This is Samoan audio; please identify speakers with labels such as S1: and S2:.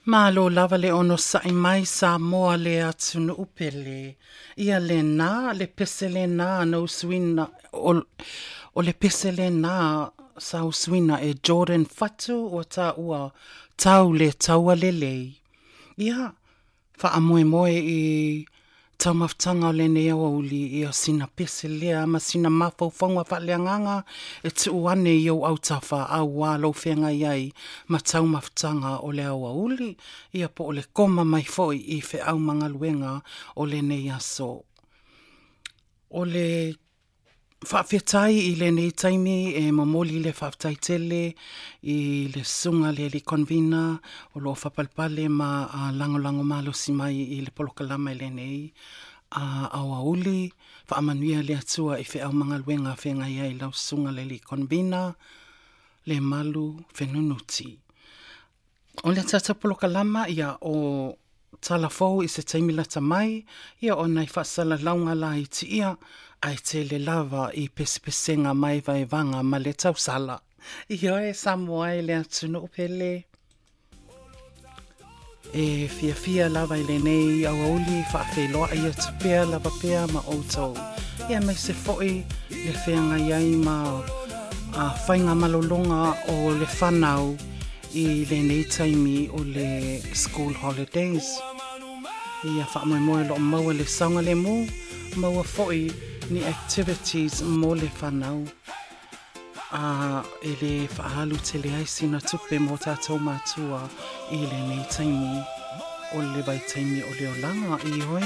S1: Malo lava le onosaʻi mai Samoa le atunuu pele. Ia lena le pese lena na usuina o le pese lena sa usuina e Jordan Fatu ua taua tau le taua lelei. Ia, Faamoemoe i taumafataga o lenei aoauli ia sina pese lea ma sina mafaufauga faaleagaga e tuu ane i ou autafa auā lou feagai ai ma taumafataga o le aoauli, ia po o le koma mai foi i feau ma galuega o lenei aso. O le Faafetai i lenei taimi e momoli le faafetai tele i le susuga le alii convener o lo o faapalepale ma lagolago malosi mai i le polokalama i lenei aoauli. Faamanuia le Atua i feau ma galuega feagai ai lau susuga le alii convener, Lemalu Fenunuti. O le tatou polokalama ia o tala fou i se taimi lata mai, ia o nai faasalalauga laiti ia, ae tele lava i pesepesega ma evaevaga ma le tausala. Ioe, Samoa e le atunuu pele. E fiafia lava i lenei aoauli faafeiloai atu pea lava pea ma outou. Ia aemaise foi le feagai ai ma a faiga malologa o le fanau i lenei taimi o le school holidays. Ia faamoemoe o lo o maua le saogalemu, maua foi ni activities mo le fanau a e le faaalu tele ai sina tupe mo tatou matua i lenei taimi o le vaitaimi o le olaga. Ioe.